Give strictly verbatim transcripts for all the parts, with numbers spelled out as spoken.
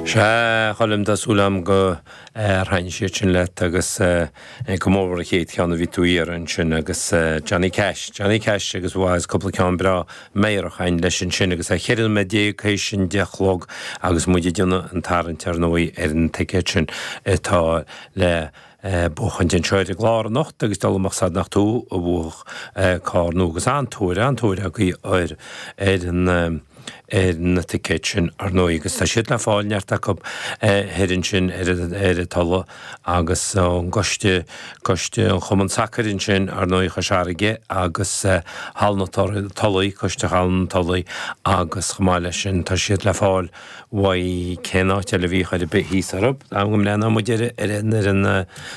Sea, a Choilm, tá súil agam gur thaitin siad sin leat agus go mór an chéad cheann a bhí tú a iarraidh ansin agus Johnny Cash, Johnny Cash agus bhuel cúpla ceann breá meidhreach againn leis ansin agus é ceithre nóiméad déag théis an deich a chlog agus muid ag déanamh an tarraingt ar ndóigh ar an ticéad sin atá le buachaint anseo ar an gclár anocht agus dul amach sad nach tú a bhuafadh carr nua agus an-tóir, an-tóir agaibh ar ar an ar na ticéid sin ar ndóigh agus tá siad le fáil neart acu thoir ansin ar ar an Tulaigh agus ón gcoiste, coiste an Chumann Sacair ansin ar ndóigh Chois Fharraige agus Halla na Tulaí, coiste Halla na Tulaí agus chomh maith leis sin tá siad le fáil uaidh cén áit eile a bhí chor ar bith thíos orthu, am go mbreathnóidh muid ar ar an ar an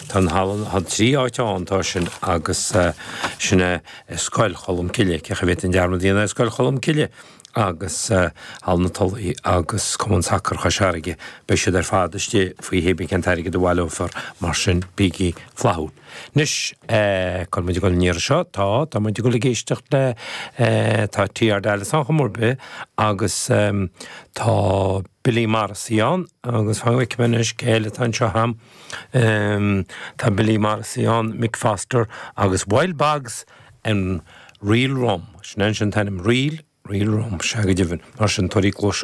tá an halla, tá trí áit ann tá sin agus sin é Scoil Cholm Cille, cé chaoi a bhféadfainn dearmad a dhéanamh ar Scoil Cholm Cille agus Halla na Tulaí agus Cumann Sacair Chois Fharraige, beidh siad ar fad istigh faoi hébrí cén t-airgead a bhaileofar, mar sin bígí flaithiúil. Anois, cá bhfuil muid ag dul an iarraidh seo? Tá, tá muid ag dul ag éisteacht le, tá TR Dallas ann chomh mór bith agus tá Billy Morrissey ann agus fan go bhfeicfidh mé anois cé eile atá anseo agam. Tá Billy Morrissey ann, Mick Foster agus Wild Bogs and Real Rum. Sin é an t-ainm, Real, Real Rum, sea go deimhin, mar sin tabhair cluas.